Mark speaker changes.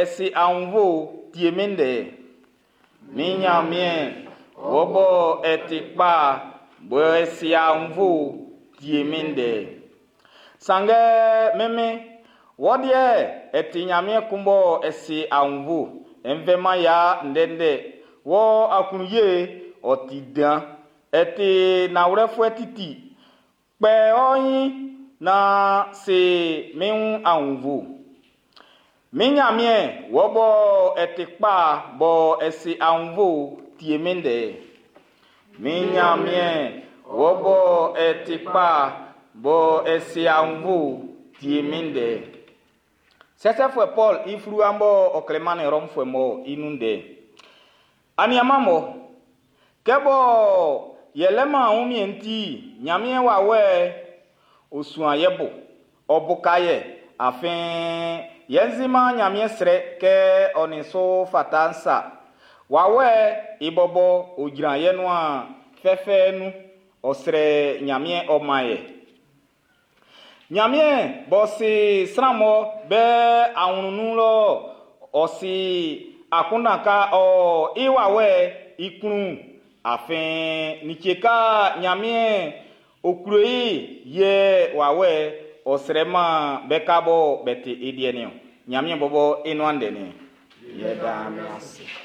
Speaker 1: ɛ si aunnvuɛ, tie min ndɛ'n. Min Nyanmiɛn, wɔ bɔ ɛ ti kpa, bɔ ɛ si aunnvuɛ, tie min ndɛ'n. Sanngɛ min Min, wɔ deɛ ɛ ti Nyanmiɛn kun bɔ ɛ si aunnvuɛ, ɛ nvɛ-man ya ndɛndɛ, wɔ aklunye'n ɔ ti dan, ɛ ti nanwlɛfuɛ titi. Kpɛ ɔ nyin naan si min wun aunnvuɛ. Min Nyanmiɛn, wɔ bɔ ɛ ti kpa bɔ ɛ si aunnvuɛ, tie min ndɛ'n. Min Nyanmiɛn, wɔ bɔ ɛ ti kpa bɔ ɛ si aunnvuɛ, tie min ndɛ'n. Sɛsɛfuɛ Paul i fluwa'n bɔ ɔ klɛ mannin Rɔmfuɛ mɔ i nun ndɛ'n. Aniaman mɔ, kɛ bɔ yɛlɛ man wunmiɛn ti, Nyanmiɛn wawɛ'n ɔ suan yɛ bo, ɔ buka yɛ, afin yɛn si-man Nyanmiɛn srɛ kɛ ɔ nin su fata'n sa. Wawɛ'n i bɔbɔ ɔ jran yɛ nuan fɛfɛ nun, ɔ srɛ Nyanmiɛn ɔ man yɛ. Nyanmiɛn b'ɔ si sran mɔ be awlɛn'n nun lɔ, ɔ si akunndan ka ɔ i wawɛ'n i klun, afin like ka Nyanmiɛn ɔ klo i yɛ wawɛ'n ɔ srɛ man be ka bɔ be ti i deɛ niɔn. Nyanmiɛn bɔbɔ i nuan ndɛ niɛn. Yɛ daa mi ase.